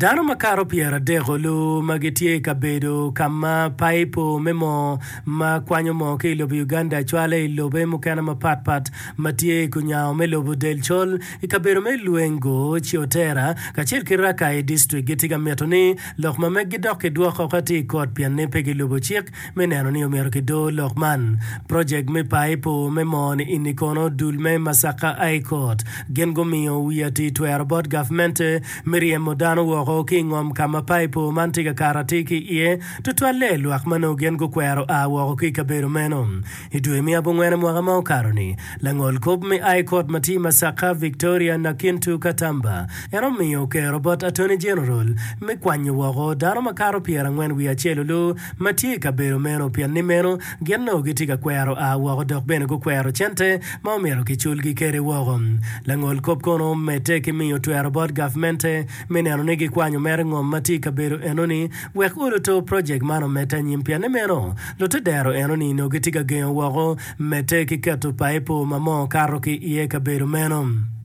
Dano makato pyeradek olu ma gitye i kabedo ka ma paipo me moo ma kwanyo moo ki i lobo Uganda cwale i lobe mukene mapat pat ma tye i kunyango me lobo del col i kabedo me Lwengo, Ciotera kacel ki Rakai District gitye ka mito ni lok ma meggi dok kidwok oko atir i kot pien ni pe gilubo cik me neno ni omyero kidor lok man. Projek me paipo me moo-ni ini kono dul me Masaka High Court gin gumiyo wi atir twero bot gavmente me ryemo dano woko ki i ngom ka ma paipo man tye ka kato atir ki iye, tutwalle lwak ma nongo gin gukwero a woko ki i kabedo meno. I dwe me abongwene mwaka ma okato-ni, langol kop me High Court ma tye i Masaka, Victoria Nakintu Katamba, en omiyo kero bot Attorney General me kwanyo woko dano makato pyerangwen wiye acel olu ma tye i kabedo meno pien ni meno gin nongo gitye ka kwero a woko dok bene gukwero cente ma omyero kiculgi kwede woko. Langol kop kono omedde ki miyo twero bot gavmente me neno ni gikwanyo mere ngom ma tye i kabedo enoni wek oluto projek man omedde anyim pien ni meno lutedero enoni nongo gitye ka gengo woko medde ki keto paipo ma moo kato ki iye kabedo meno.